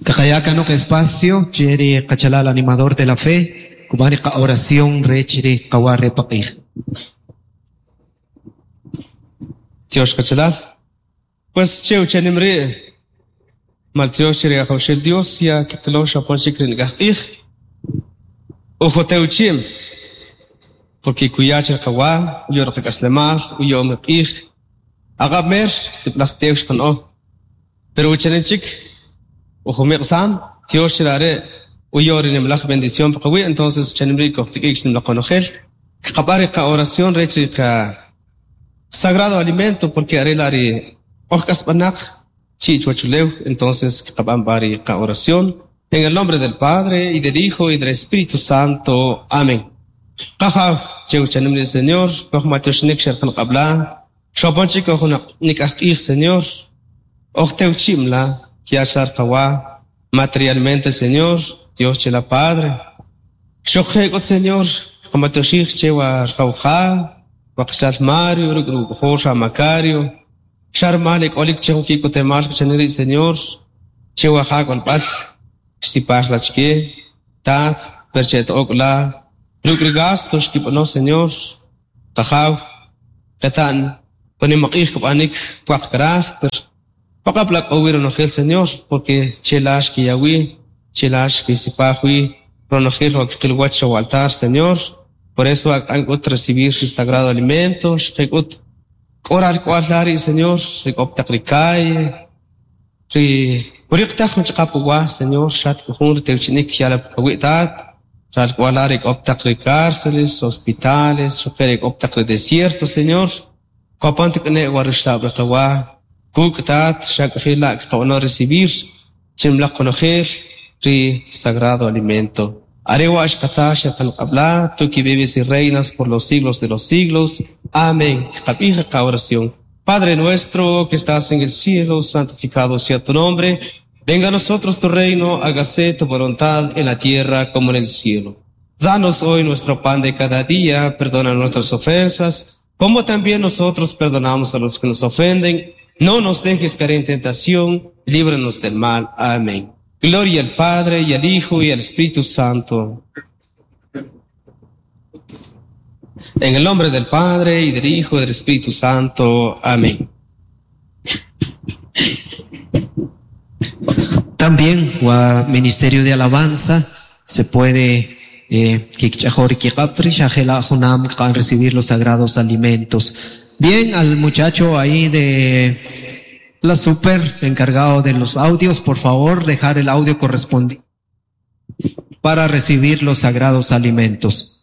Kaqaya kanoq espacio che ri qachalal animador de la fe, kub'an ri qa oración rech ri qawa re paq'ij. Tyox qachalal. Pues che uchanim ri' maltyox che ri Ajawxel Dios ya kiqilo xapon chik ri nik'aj q'ij. Ujotewchim porque kuya che qawa uyo ri qak'aslemal uyo'm ri q'ij. Aq'ab' mer sib'alaj tew xqan'o. Pero uchanim chik ujumiq'sam tyox che are' uyo ri nimlaj bendición pa qawi', entonces uchanim ri' kojtik'ik xnimlaj qonojel. Kqab'an ri qa-oración rech ri qa sagrado alimento porque are la ri oj k'asb'anaq chi' chuwachulew, entonces kqab'an b'a ri qa-oración. En el nombre del Padre, y del Hijo, y del Espíritu Santo. Amén. Qajaw, che uchanim ri Señor, koj matyoxnik xerqan qab'la, xopon chik koj nik'aj q'ij, Señor, oj tewchim la, kiaxar qawa, materialmente, Señor, Dios che la Padre. Xojje k'ut, Señor, qamatyoxij che wa rqawja, wa qachal Mario, ruk' ruk'ojol xa Macario, xarmal ik'olik che jun ki'kotemal kuchanin ri' Señor, che wa ja k'olb'al, xsipaj la chke, tat, per che t'ok la, ruk' ri gasto xkib'ano, Señor, qajaw, qeta'n, wanimaq'ij kb'anik pwaq karaj, per paq'ab' la k'o wi ronojel, Señor, porque che la xkiya wi, che la xkisipaj wi ronojel wa kqil wach cho altar, Señor. Por eso ak'an k'ut recibir el sagrado alimento, xqe k'ut k'oral k'wal la ri' Señor, ri k'o taq ri calle, ri uriqtaj jun ch'aqap uwa, Señor, xat k'o jun ritewchinik yala qawi' tat, ral k'wal la ri k'o taq ri cárceles, hospitales, xuqe ri k'o taq ri desierto, Señor. Kopan tik'ne wa ruxlab' ri qawa, kuk' tat, xak'ajil la kqab'ano recibir chimlaq qonojel ri sagrado alimento. Are wa xqata xerqan qab'la, tú que vives y reinas por los siglos de los siglos. Amén. Qab'ij ri oración. Padre nuestro que estás en el cielo, santificado sea tu nombre. Venga a nosotros tu reino, hágase tu voluntad en la tierra como en el cielo. Danos hoy nuestro pan de cada día, perdona nuestras ofensas, como también nosotros perdonamos a los que nos ofenden. No nos dejes caer en tentación, líbranos del mal. Amén. Gloria al Padre, y al Hijo, y al Espíritu Santo. En el nombre del Padre, y del Hijo, y del Espíritu Santo. Amén. También wa Ministerio de Alabanza se puede kikch'ajor kiq'apri xajela junam kqan recibir los sagrados alimentos. Bien, al muchacho ahí de la super encargado de los audios, por favor, dejar el audio correspondiente para recibir los sagrados alimentos.